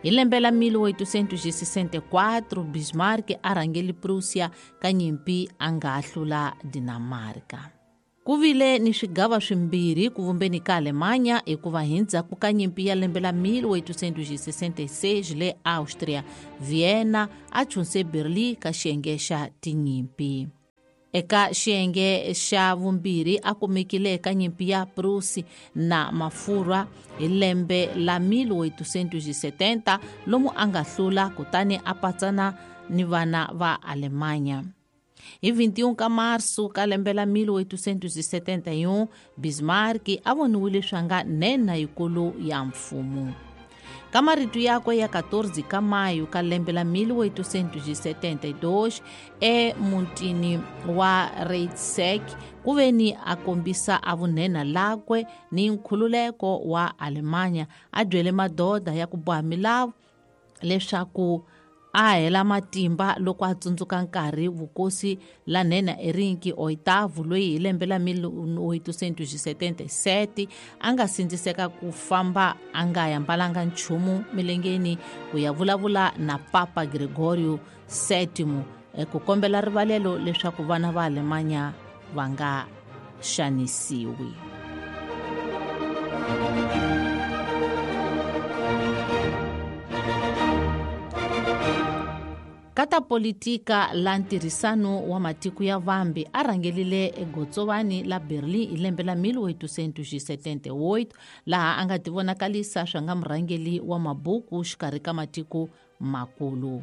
Hi lembe la 1864 Bismarck a rhangeli Prussia ka nyimpi a nga hlula Dinamarca. Ku vile ni swigava swimbirhi ku vumbeni ka Alemanya hikuva hi ndzhaku ka nyimpi ya lembe la 1866 le Austria, Vienna a chunse Berlin ka xiyenge xa tinyimpi. Eka xiyenge xa vumbirhi a kumekile eka nyimpi ya Prusi na Mafurwa hi lembe la 1870 lomu a nga hlula kutani a patsana ni vana va Alemanya. Hi 21 ka marso ka lembe la 1871 Bismarck a voniwile swa nga nhenha yikulu ya mfumo. Ka marito yakwe ya 14 ka mayu ka lembe la 1872 emutini wa Reichsek ku ve ni a kombisa a vunhenha lakwe ni nkhululeko wa Alemanya a byele madoda ya ku boha milawu leswaku a hela matimba loko a tsundzuka nkarhi vukosi la nhenha Erinki Oitavo loyi hi lembe la 1877 a nga sindziseka ku famba a nga yambalanga nchumu milengeni ku ya vulavula na Papa Gregorio VII ku kombela rivalelo leswaku vana va Alemanya va nga xanisiwi. Ka ta politika la ntirhisano wa matiko ya vambe a rhangelile egotsovani la Berlin hi lembe la 1878 laha a nga tivonakalisa swa nga murhangeli wa mabuku xikarhi ka matiko makulu.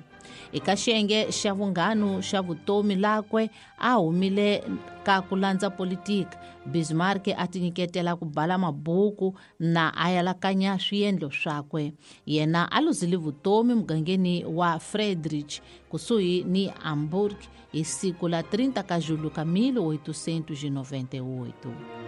Eka xiyenge xa vunghanu xa vutomi lakwe a humile ka ku landza politika, Bismarck a tinyiketela ku bala mabuku na a yalakanya swiendlo swakwe. Yena a luzile vutomi mugangeni wa Friedrich kusuhi ni Hamburg hi siku la 30 ka julho ka 1898.